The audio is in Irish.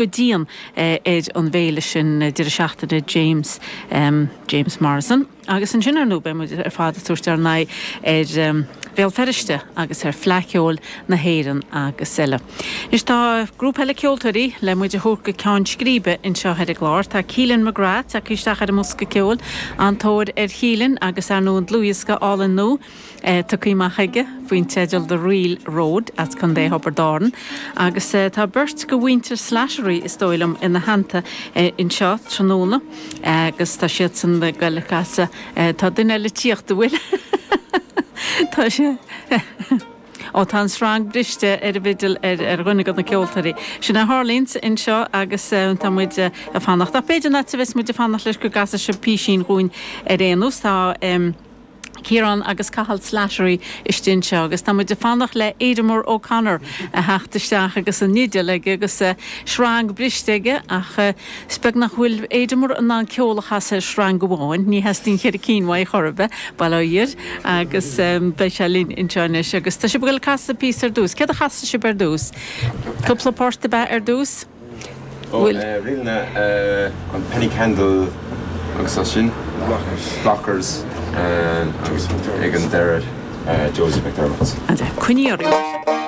Go dian ar an bhféile sin deireadh seachtaine James James Morrison. Agus ansin ar ndóigh beidh muid ar fad ag tabhairt ár n-aghaidh ar Bhéal Feirste agus ar Fleadh Cheoil na hÉireann agus eile. Anois tá grúpa eile ceoltóirí le muid a thabhairt go ceann scríbe anseo ar an gclár. Tá Keelan McGrath tagtha isteach ar an mbosca ceoil, an-tóir ar Keelan agus ar ndóigh an dlúthdhiosca álainn nua tugtha amach aige faoin teideal The Reel Road as Contae Thiobraid Árann agus tá beirt de mhuintir Slattery is dóigh liom ina theannta anseo tráthnóna agus tá siadsan ag goil a chasadh tá duine eile ag tíocht an bhfuil? Tá sé Ó tá an sreang briste ar an bhfidil ar dhuine de na ceoltóirí. Sin a tharlaíonn anseo agus tá muid ag fanacht. Ach b'fhéidir nach bheas muid ag fanacht leis go gcasfaidh sibh písín dhúinn ar aon nós. Tá. Ciarán agus Cathal Slattery istigh anseo agus tá muid ag fanacht le Aidanmór O'Connor a theacht isteach agus an fhidil aige agus sreang briste aige ach is beag nach bhfuil Aidanmór in ann ceol a chasadh ar shreang amháin, ní theastaíonn cheithre cinn uaidh chor ar bith, bail ó Dhia air, agus beidh sé linn anseo anois agus tá sibh ag dul ag casadh píosa ar dtús. Céard a chasfaidh sibh ar dtús? Cúpla port ab ea ar dtús? Bhfuil. Rinne an Penny Candle agus as sin Blockers agus ag an deireadh Josie McDermott. Coinnigh oraibh.